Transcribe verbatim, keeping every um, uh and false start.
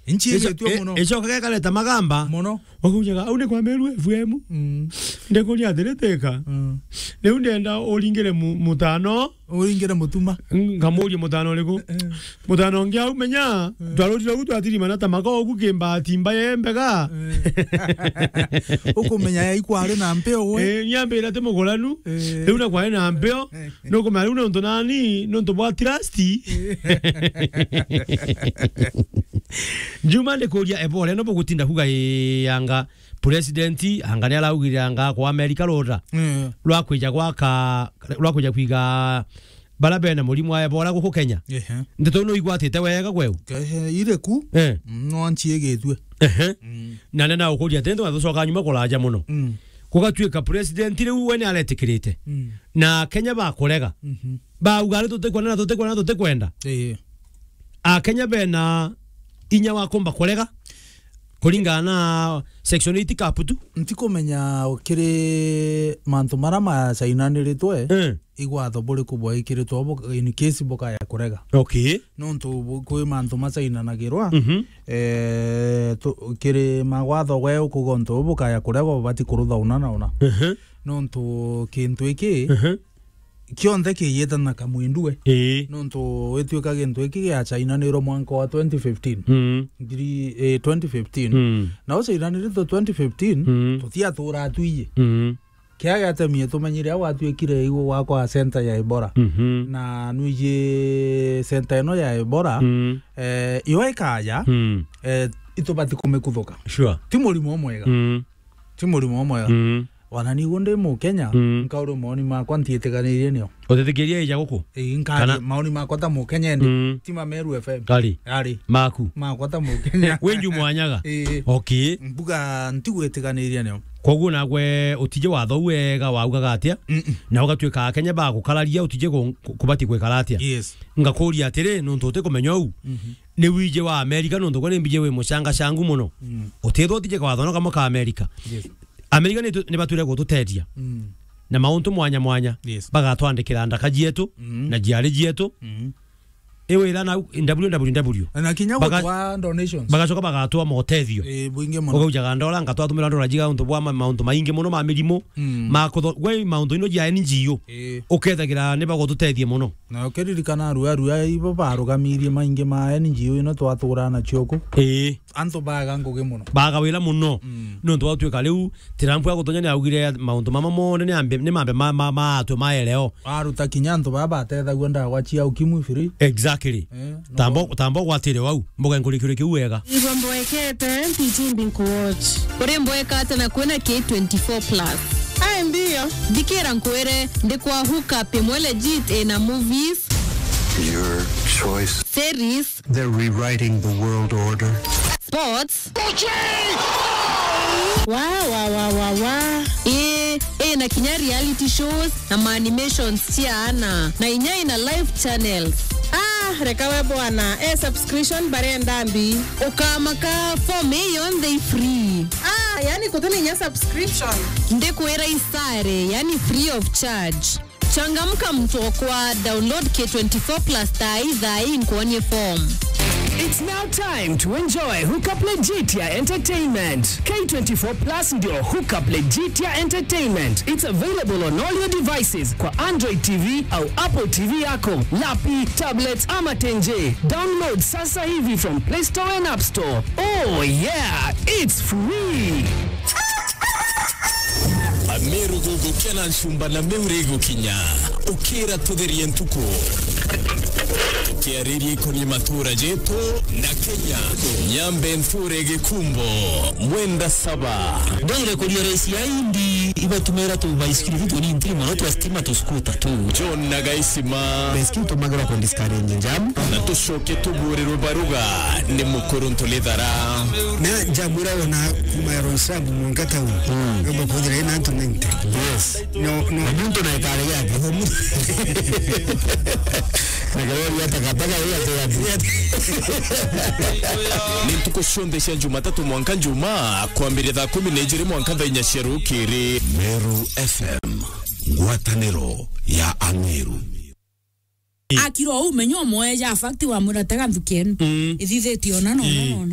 Nchi icio, yetu e-, muno. Icoka gekareta magamba. Muno. Wakujaga, "Au ni kwa Meru F M." Mm. Ndikuria atiri teka. Mm. Riu ndenda uringire mu-, mutano. Uringire mutuma. Ngamuria mutano uriku? Eh. Mutano ungi au menya, mm, twarurire ugu twatirimana ta maka ugu kimbati mbaya mbega. Eh. Ukumenya ya ikwari na mpeo we. Eh, nyambira ti muguranu. Eh. Riu na kwari na mpeo. Eh. Nukumenya riu nontu nani, nontu bwa trust. Eh. Njuma ndikuria ebore no bugutinda kuga ii anga president anga ni araugire anga kwa America rura. Mm. Rwa kwija gwaka, rwa kwija kwiga bara bena murimu wa Ebola guku Kenya. Ehe. Ndeto ino igwatite wega gweu? Ehe, ire ku. Eh. Mm, no nchi igitue. Ehe. Mm. Na nena ukuria tendo na tucoka nyuma kuraja muno. Mm. Gugatuika president riu we ni aretikirite. Mm. Na Kenya bakurega. Mhm. Bauga ari tutikwenda na tutikwenda na tutikwenda. Eh. A Kenya bena inya wa kumba kurega kuringana na section eight kaputu. Ntikumenya kiri mantu mara macainaniritwe, eh, igwatho buriku bwaikiritwe bu-, in case bukaya kurega. Okay. Nontu bu-, kwi mantu macainanagirwa, mhm, eh, tu-, kiri magwatho gwe ukuga untu bu bukaya kurega ubati kurutha una na una. Mhm. Nontu kintu iki, mhm, kionthe kiiyite na kamwindue. Ii. Nontu wituika gintu giki giacainanirwe mwanka wa twenty fifteen. Mm. Ngiri, eh, twenty fifteen. Mm. Na ucainaniritwe twenty fifteen, mm, tutiatura atwiye. Mm. Kia giatemie tumenyire au atwikire igwe gwakwa center ya Ebola. Mhm. Na nwiji center ino ya Ebola, mm, eh, yo ikaja, mm, eh, itubati kumikuthuka. Sure. Ti murimo mwega. Mm. Ti murimo mwega. Mm. Wana niguo ndi Mukenya, mm, nkauri maoni makwa ntiitiganirie nio. Utitikiria ija guku? Ii, nkari kana maoni makwa ta Mukenya ndi, mm, ti ma Meru F M. Ari. Ari. Maku. Makwa ta Mukenya. Wenju mwanyaga? Ii. Okay. Mbuga ntigwitiganiria nio. Koguo nagwe utije watho wega waugaga atia? Mm-mm. Na ugatuika Akenya bagukararia utije ku-, ku-, kubati gwikara atia? Yes. Ngakuria atiri, nontu utikumenya uu, mhm, ni wije wa Amerika, nontu gwe ni mbije wi mucangacangu muno. Mm. Utithwa utije kawatho no kamwe ka Amerika. Yes. Amerika ni tu-, ni batwire gututeethia. Mm. Na mauntu mwanya mwanya. Yes. Bagatwandikira ndaka cietu, mm, na ciari cietu. Mm. Iwira na W W W. Na kinya baga-, gutwa donations. Bagacoka bagatwa motethio. Eh, bwingi muno. Ugaujaga ndora, ngatwatumira ndora jiga untu bwa ma-, mauntu maingi muno ma mirimu, mm, ma kutho-, gwe mauntu ino ja N G O. Eh. Ukethagira ni bagututethia muno. Na ukiririkana arua, arua ibo barugamirie maingi ma N G O ino twatura nacio ku. Ii. Antu baga ngugi muno. Baga wira muno. Mm. Nontu watuika riu Trump agutonya ni augire mauntu mama monthe ni ambe, ni mambe ma, ma, ma atwe maereo. Aruta kinya antu baba batethagua ndawa cia ukimwi free. Exactly. Eh, no. Tambo, tambo gwatire wau. Mboga nkurikire kiu wega. Igwa mboekete, mpichimbi nkuwatch. Uri mboeka ata na kwina K twenty-four plus? Ai, ndio. Thikira nkwire, ndi kwa hook up imwe legit ina movies. Your choice. Series. They're rewriting the world order. Sports. Wa, wa, wa, wa, wa. Ii, ina kinya reality shows na ma animations cia ana. Na inya ina live channels. Ah, reka we bwana, e subscription barenda mbi. Ukamaka, form ii yonthe i free. Ah, yani kutina inya subscription. Ndikwira isare, yani free of charge. Changamka mtu okwa, download K twenty-four plus thaa ii, thaa ii nkuonie form. It's now time to enjoy Hookup Legitia Entertainment. K twenty-four plus ndio Hookup Legitia Entertainment. It's available on all your devices kwa Android T V au Apple T V yako, lapi, tablet ama tenje. Download sasa hivi from Play Store and App Store. Oh yeah, it's free. Ameru gugukena nchumba na meure gukinya. Ukira tutherie ntuku. Tukiaririe ikoni matura jetu na Kenya. Nyambe nture gikumbo, mwenda saba. Ndwire kuria raisi ya indi, ibatumira tu baisikiri tu ni ntiri mono twa stima tu skuta tu. John na Gaisima. Baisikiri tumagira ku discourage jam. Na tucoke tuburirwe baruga ni mukuru ntulithara. Na jamura wona kuma ya Roysambu mwanka town. Mm. Ngomba kuthira ina antu ninety. Yes. No, no. Na muntu na ikare yake. Na gari ya takataka ya takataka. Ni ntuku cionthe cia Jumatatu mwanka Juma, kwambire thaa kumi na ijiri mwanka thaa inya cia rukiri. Meru F M, ngwataniro ya Ameru. Akira uu, menya umwe ja fact wamwira, "Tega nthuki enu." Mm. Ithithitie ona na ona. Ii. Na ona.